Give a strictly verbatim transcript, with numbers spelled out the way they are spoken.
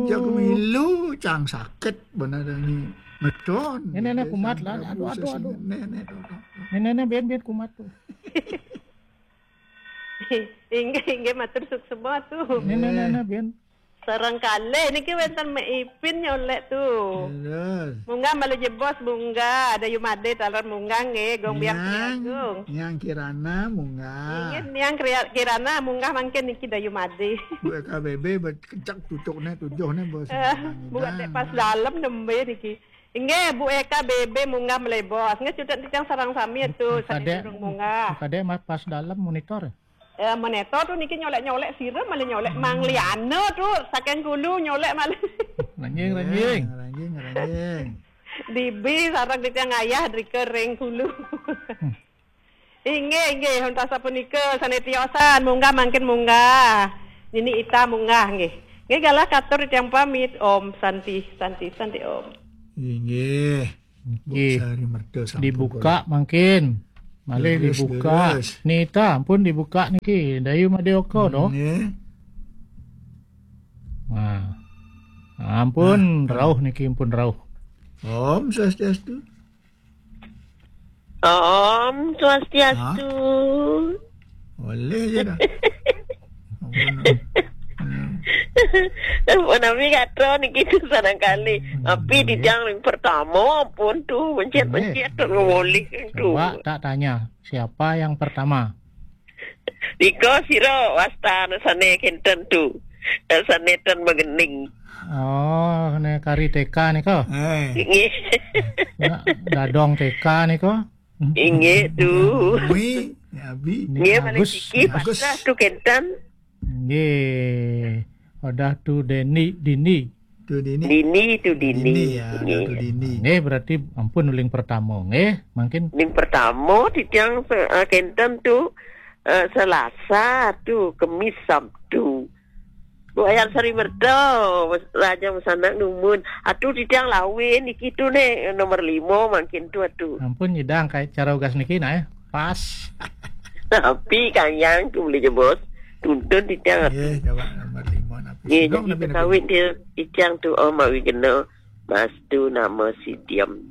Cak milu cang sakit benar ni. Meton. Ini, ini, kumat lah. Aduh, aduh, aduh. Ini, ini, aduh, aduh. Ini, ini, ben, ben, kumat tu. Inggih, inggih, matur suksma tu. Ini, ini, ini, ini, ben. Sareng kalih niki wénten Mek Ipin nyolek tu. Terus. Munggah malih jebos, munggah. Ada Yumade taler munggah nggih, Gong Biang Niang, Agung. Niang Kirana munggah. Inggih, Niang Kria-, Kirana munggah mangkin niki Dayu Made. Bu Eka B B bet-, kecek tutukne tujuhne bos. Eh, Bu Adek pas dalem nembe niki. Inggih, Bu Eka B B munggah malih bos. Nggih, cutet titiang sareng sami tu, Bu Kadek, sadurung munggah. Bu Kadek, ma-, pas dalem monitor. Eh, monitor tu niki nyolek-nyolek sira malih nyolek Mang Liana tu saking kulu nyolek malih. Ranjing, ranjing. Ranjing, ranjing. Dibi sareng titiang ayah drika ring kulu. Hmm. Inggih, inggih, untas sapunika sane tiosan, munggah mangkin munggah. Nini Ita munggah nggih. Nggih galah katur titiang pamit. Om Santi, Santi, Santi Om. Inggih. Nggih. Sari merta sampun dibuka kula. Mangkin. Malih leres, dibuka. Leres. Nita, ampun dibuka niki. Dayu Madioka, hmm, doh. Nggih. Nah. Ampun, nah, rauh niki, ampun rauh. Om Swastiastu. Om Swastiastu. Hah? Boleh je dah. Ampun. Hmm. Ampun, nami kata niki tu sanang kali. Hmm, tapi boleh. Titiang yang pertama pun tu, mencet-mencet tu boleh tu. Coba tak tanya, siapa yang pertama? Nika sira wasta anu sane kenten tu. Eh, sane ten magening. Oh, ne kari T K nika? Eh. Nggih. Nak dadong T K nika? Inggih tu. Wi, ya, Abi. Nggih, malih Agus. Siki Agus. Pasrah tu kenten. Nggih. Odah tu Deni, Dini. Tu Dini. Dini tu Dini. Dini, ya, nggih. Tu Dini. Nggih, berarti ampun uling pertama, nggih. Mangkin uling pertama titiang se-, eh, kenten tu, eh, Selasa tu, Kemis, Sabtu. Bu Ayang Sari Merta, Raja Mesanak Numun. Atu titiang lawin iki tu ne nomor lima mangkin tu atu. Ampun nyidang kai cara ugas niki nah, eh. Pas. Tapi kayang tu boleh je bos. Tuntun titiang atu. Nggih, jawab nomor lima napi. Nggih, jadi napi, napi. Kawin dia titiang tu, oh, mawi kena mastu nama sidiam.